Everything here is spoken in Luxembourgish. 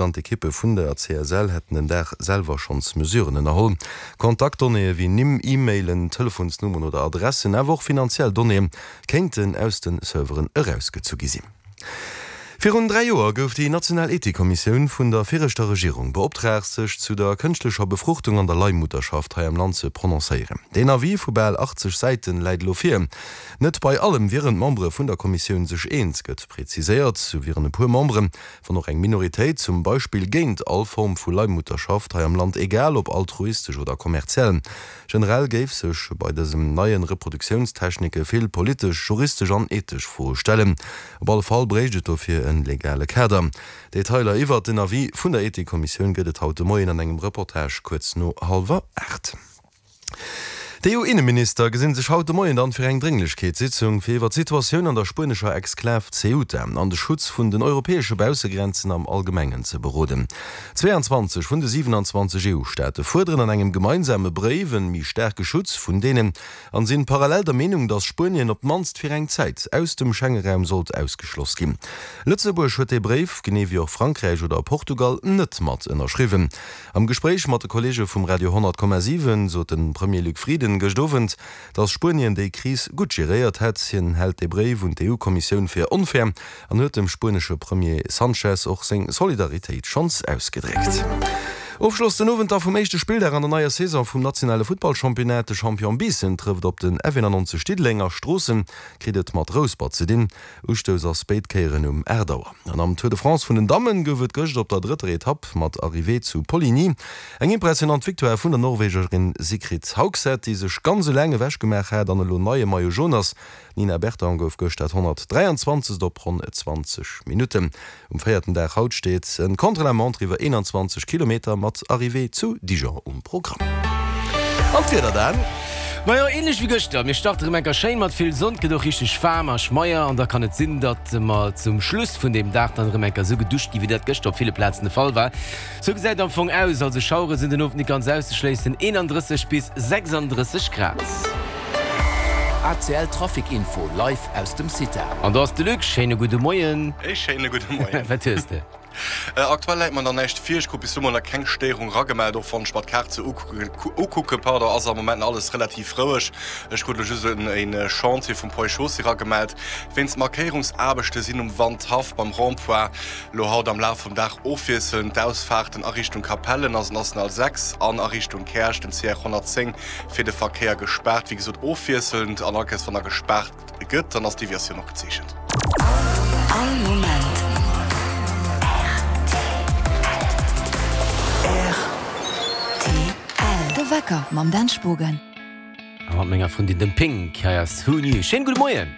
An d'Ekippe vun der CSL hätten den Dag selwer schonns Mesuren ënnerholl. Kontaktdonnéeë wéi Nimm, E-Mailen, Telefonsnummeren oder Adressen, awer och finanziell Donnéeë kéinten aus de Serveren erausgezu gi sinn. Virun 3 Joer gouf déi national Ethikkommissioun vun der viregter Regierung beoptraagt, sech zu der kënschtlecher Befruchtung an der Leihmutterschaft hei am Land ze prononcéieren. Deen Avis vu bal 80 Säiten läit elo vir. Net bei allem wieren d'Membere vun der Kommissioun sech eens, gëtt preziséiert. Sou wieren e puer Memberen Wann och eng Minoritéit zum Beispill géint all Form vu Leihmutterschaft hei am Land, egal ob altruistesch oder kommerziell. Generell géif sech bei dësem neien Reproduktiounstechnike vill politesch, juristesch an ethesch Froe stellen. Op alle Fall bréicht et dofir en legale Kader. Detailer iwwert den Avis vun der Ethikkommissioun gëtt et haut de Moien an engem Reportage kuerz no hallwer 8. D'EU-Inneminister gesinn sech haut de Moien dann fir eng Drénglechkeetssitzung, fir iwwer d'Situatioun an der spuenescher Exklav Ceuta an de Schutz vun den europäesche Baussegrenzen am Allgemengen ze beroden. 22 vun de 27 EU-Staate fuerderen an engem gemeinsame Bréif en méi staarke Schutz vun deenen an sinn parallel der Meenung, datt Spuenien op d'mannst fir eng Zäit aus dem Schengeraum sollt ausgeschloss ginn. Lëtzebuerg huet dee Bréif, genee wéi och Frankräich oder Portugal, net mat ënnerschriwwen. Am Gespréich mat de Kolleege vum Radio 100,7 sot de Premier Luc Frieden gëscht Owend, datt Spuenien déi Kris gutt geréiert hätt. Hien hält dee Bréif un d'EU-Kommissioun fir onfair an huet dem spuenesche Premier Sanchez och seng Solidaritéit schonns ausgedréckt. Ofschloss den Owend da vum éischte Spilldag an der neier Saison vum nationale Futtballchampionnat. De Champion Biissen trëfft op den F91 Diddeleng a Stroossen kritt et mat Rouspert ze dinn. Ustouss ass béid Kéieren um 8 Auer. An am Tour de France vun den Dammen gouf et gëscht op der drëtter Etapp mat Arrivée zu Poligny eng impressionant Victoire vun der Norwegerin Sigrid Haugset, déi sech ganz eleng ewech gemaach hat an elo neie Maillot Jaune ass. D'Nina Berton gouf gëscht dat 123. op ronn 20 Minutten. Um véierten Dag haut steet en Contre-la-montre iwwer 21 Kilometer mat Arrivée zu Dijon um Programm. An d'Wieder dann? Majo, ähnlech wéi gëschter. Mir starte rem enker schéin mat vill Sonn, et gëtt och richteg waarm a schmeier an da kann et sinn, datt mer zum Schluss vun dem Dag dann erëm enker esou geduscht ginn, wéi dat gëschter op ville Plazen de Fall war. Sou gesäit et am Fong aus, also Schauere sinn den Owend net ganz auszeschléissen, 31 bis 36 Grad. ACL Trafic Info live aus dem CITA. An do ass de Luc. Schéine gudde Moien. Ee schéine gudde Moien. Wat hues de? Aktuell läit mer nach näischt vir. Ech krut bis elo mol nach keng Stéierung ragemellt. Och wann ech mer d'Kaart sou ukucken, pardon, ass am Moment nach alles relativ roueg. Ech krut elo just e Chantier vum Pont et Chaussée ragemellt. Wéinst Markéierungsaarbechte sinn um Wandhaff beim Rond-point Lo haut am Laf vum Dag ofwiesselnd d'Ausfaarten a Richtung Capellen ass National 6 an a Richtung Käerch den CR 110 fir de Verkéier gespaart. Wéi gesot ofwiesselnd an all Kéiers wann da gespaart gëtt, dann ass d'Deviatioun och gezeechent. All Moment rtl. De Wecker mam Dan Spogen. A mat menger Frëndin dem Pink. Hei ass Who Knew. Schéinen gudde Moien.